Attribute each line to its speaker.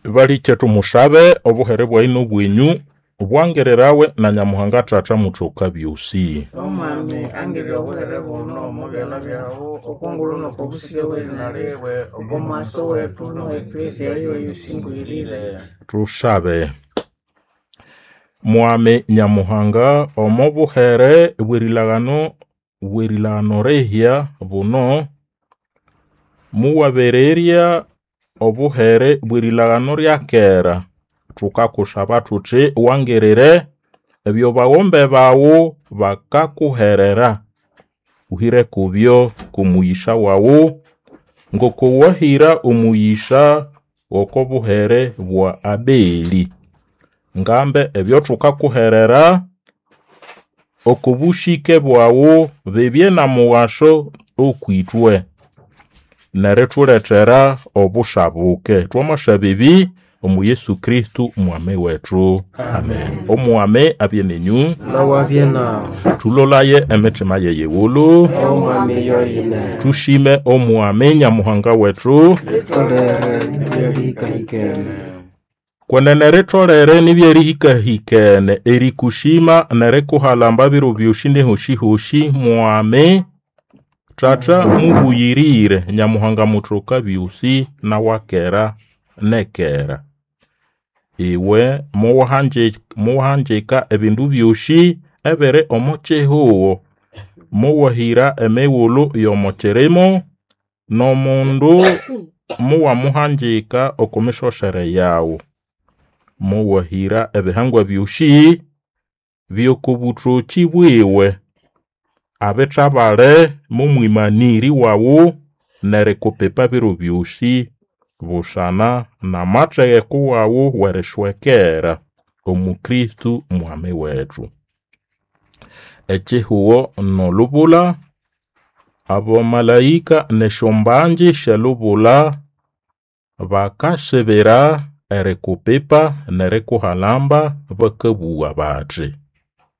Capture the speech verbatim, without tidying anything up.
Speaker 1: Balikye tumushabe obuhere bwayi n'obwenyu bwangirirawe na Nyamuhanga Tata muthoka byosi.
Speaker 2: Omwami angirya obuhere buno omo byalha byawu okongulhu n'okobusige bw'erina liwe oko mwaso wethu n'owe eklezia yiwe yosingwirire.
Speaker 1: Tushabe. Mwami Nyamuhanga omo buhere bw'erilagano bw'erilagano rihya buno muwabererya obuhere bw'erilagano rya kera thukakushaba thuthi wangirire ebyo baghombe bawu bakakuherera uhire kubyo k'omuyisha wawu ngoko wahira omuyisha oko buhere bwa Abeli. Ngambe ebyo thukakuherera oko bushike bwawu bibye na mughasho okwithwe nerithulethera obushabuke. Twamasaba ebi omu Yesu Kristo mwami wethu. Amen. Omwami abye nenyu,
Speaker 3: Nawabye nawe.
Speaker 1: thulolaye emitima yeyighulhu,
Speaker 3: Omwami yoyine.
Speaker 1: tushime omwami Nyamuhanga wethu.
Speaker 3: Litolere ebyerihikahikene.
Speaker 1: Kwenene ritolere nibyerihikahikene erikushima nerikuhalamba biro byosi nehosi-hosi mwami Tata mubuyirire Nyamuhanga muthoka byosi nawakera nekera. Iwe muwahanji- muwahanjika ebindu byosi ebiri omo kihugho muwahira emighulhu y'omo kirimo n'omundu muwamuhanjika oko misosere yawu. Muwahira ebihangwa byosi by'okobuthoki bwiwe abithabale momwimaniri wawu nerikupipa biro byosi busana n'amategeko wawu w'erishwekera omu Kristo mwami wethu. Ekihugho n'olubula abamalaika n'esyombangi sy'elubula bakasibira erikupipa nerikuhalamba bakabugha bathi: